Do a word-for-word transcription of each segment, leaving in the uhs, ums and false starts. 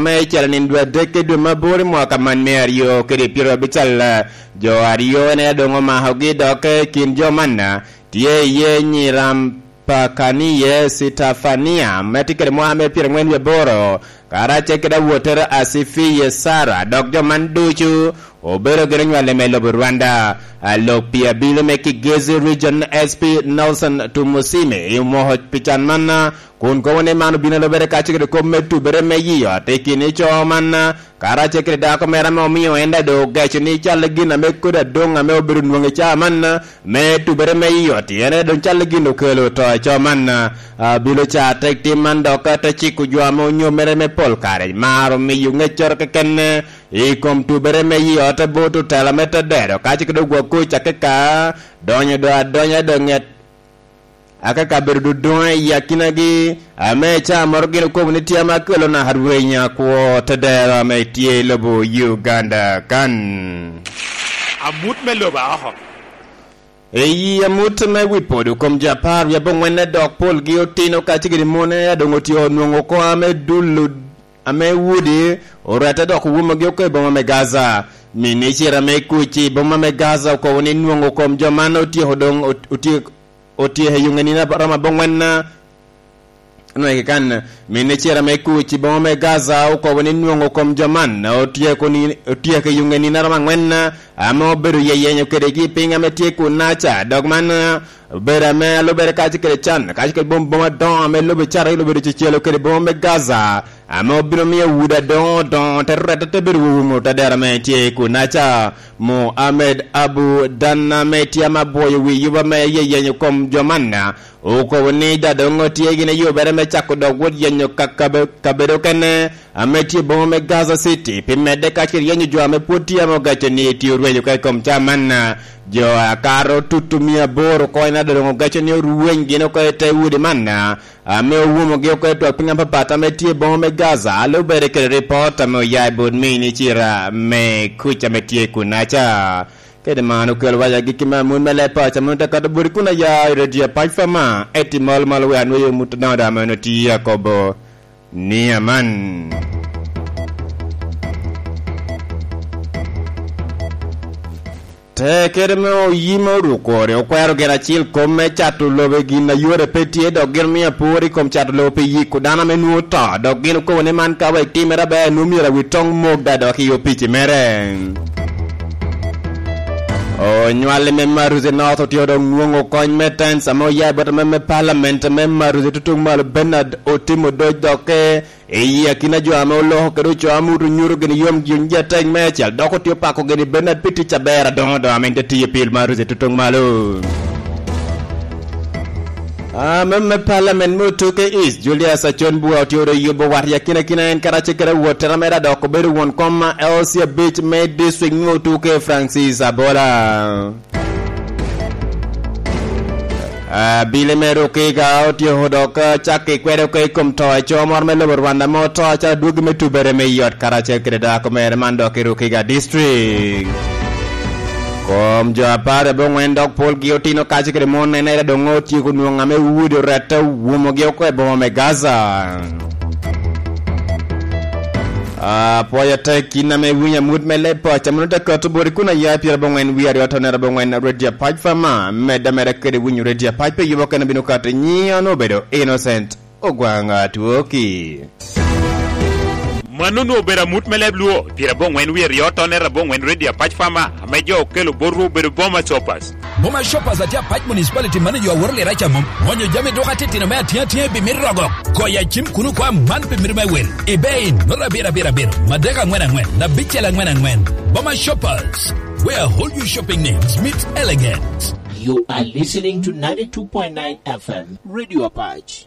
me calo nino dwe adek i dwe me aboro i mwaka man me aryo kede pyero abical, jo aryo en aye doŋ omakogi, dok i kin jo man tye iye Nyiram Pakanie Sitefania, me tye kede mwaka me pyeraŋwen wie aboro, karacel kede awottere Asifiye Sara, dok jo man ducu obedo gin onywale me lobo Rwanda. A, lok pi abino me Kigezi Region S P Nelson Tumusime omoko pi can man, kun kobo ni man obino alobere kacel kede kop me tubere me yi ot i kin i co man, karacel kede dako mere ame omio en daŋ doŋ ogeco ni cal gin ame kodi adoŋ ame obedo nwoŋo i caa man, me tubere me yi ot, en aye doŋ cal gin okelo to i co man. A, bilo ca tek tim man dok te ciko jo ame onyomere me pol kare, maro miyo ŋeccoro keken i kom tubere me yi ot bot otela me tedero, ka cik doŋ gwok kuc akeka donyo do adonya doŋ ŋet akeka bedo dodoŋ i akinagi, ame ca moro gin okobo ni tye ame akelo naka rweny akwo tedero ame tye i lobo Uganda kan. Amut me lobo aoko. Eyi amut me wi podo kom jo apar wie aboŋwen dok polgi otino kacigiri mone a doŋ otyeko nwoŋo oko ame dul ame wudi orette dok owumogi oko i boma me Gaza. Minicita me kuc i boma me Gaza okobo ni nwoŋo kom jo man otyeko doŋ ot-, otyek-, otyeko i yuŋe nino romo aboŋwen. Onwenge kan, minicita me kuc i boma me Gaza okobo ni nwoŋo kom jo man otyeko ni, otyeko i yuŋe nino romo aŋwen, ame obedo yeyenyo kedegi i piny ame tye kun-naca. Dok man obedo ame alubere kacel kede can, kacel kede bom, boma adoŋo ame lobo Icrael obedo cecelo kede boma me Gaza, ame obino miyo udi adoŋo doŋo te rette te bedo wumo tadera ame tye kun-naca. Muhammad Abu Dan ame tye ame abwoyo wi yuba me yeyenyo kom jo man, okobo ni daŋ doŋ otye gin i yubere me cako dok wot yenyo ka-, kabe-, kabedo okene ame tye i boma me Gaza City, pi medde kacel yenyo jo ame pwod tye ame ogaco ni tye orwenyo oko i kom caa man. Jo akato tutu mia aboro oko en daŋ doŋ ogaco ni orweny gin oko i te udi man, ame owumogi oko i twak piny apapat ame tye i boma me Gaza, a lubere kede ripot ame oya i bot minicita me kuc ame tye kun-naca. Kede man okelo waya agikki me amut me leb paco ame onwoŋo tye akato boti kun aya i redio Apac Fama, eti mol mol wek anwoyo mut adoŋo daŋ ame onwoŋo tye akobo ni aman. Tekere me oyim oruko ori okwero gin acel kom me cato lobo i gin a yore pe tye, dok gin omio apor i kom cato lobo pi yiko dano ame nwoŋo oto, dok gin okobo ni man ka wek timere aber nwoŋo myero awi toŋ mok daŋ dok i opici mere. Onywali me Maruzi North otye dok nwoŋo kony me tens ame oya i bot ame me palament me Maruzi tutuŋ malo Bernard Otimo Doc dokke i akina jo ame oloko kede ocoo amut onyuto gin yom gin ji atek meicel, dok otye opako gin i Bernard pi tic aber adoŋo doŋ ame en te tiyo pil Maruzi tutuŋ malo. Ame me palament me Otuke East, Julius Acon Bua otye oro yubo wat i akina kina en karacel kede awottere mere a dok obedo won kom a L C abic me district me Otuke, Francis Abola. Abili me Rukiga otyeko dok, ah, cakki kwede oko i kom to i co moro me lobo Rwanda ame oto acalo adwogi me tubere me yot karacel kede dako mere man dok i Rukiga District. Kom jo apar aboŋwen dok polgi otino kacel kede mon en aye doŋ otyeko nwoŋo ame udi orette owumogi oko i boma me Gaza. Apwoyo atek yin ame iwinyo amut me leb paco, mano te kato boti kun aya i pyera aboŋwen wie aryo atonere aboŋwen Radio Apac Fama, medde ameda kede winyo Radio Apac pi yubo kene bino kato nyiŋ an obedo Innocent Ogwanga Twoki. Mano onwoŋo obedo amut me leb Luo, pyera aboŋwen wie aryo atonere aboŋwen Radio Apac Fama, ame jo okelo botwu obedo Boma Shoppers. Boma Shoppers atye Apac Municipality manager Awor Liraca mom. Mwonyo jami duka titino me atiŋa atiŋa i bimit rogo. Goyo acim kuno kwa man pi mito me wel. I bei, nota abiro abiro abiro, madek aŋwen aŋwen, abicel aŋwen aŋwen. Boma Shoppers, where all your shopping needs meet elegance. You are listening to ninety-two point nine F M Radio Apac.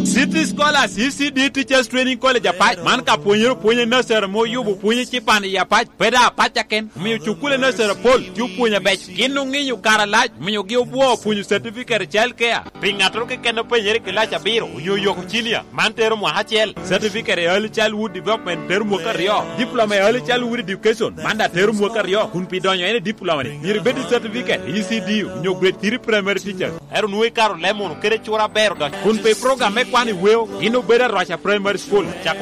City Scholars, E C D Teachers Training College Apac, man ka pwonyere opwony i nursery ame oyubo pwony ecipan i Apac, pe daŋ Apac keken, omiyo cukule nursery apol tye opwonyo abeco. Gin oŋinyo kare alac, omiogi obwoo opwonyo certificate i child care. Pi ŋattoro keken openyere i kilac abiro onyo oyoko cinia, man tero mwaka acel. Certificate i Early Childhood Development tero mwaka aryo. Diploma i Early Childhood Education, man daŋ tero mwaka aryo. Kun pi donyo en i diploma-ni, myero ibed i certificate i E C D onyo grade three primary teachers. Ento nwoŋo ikato leb munu kede cura aber odonyo. Kun pi program me kwano i weo, gin obedo Arwaca Primary School, cako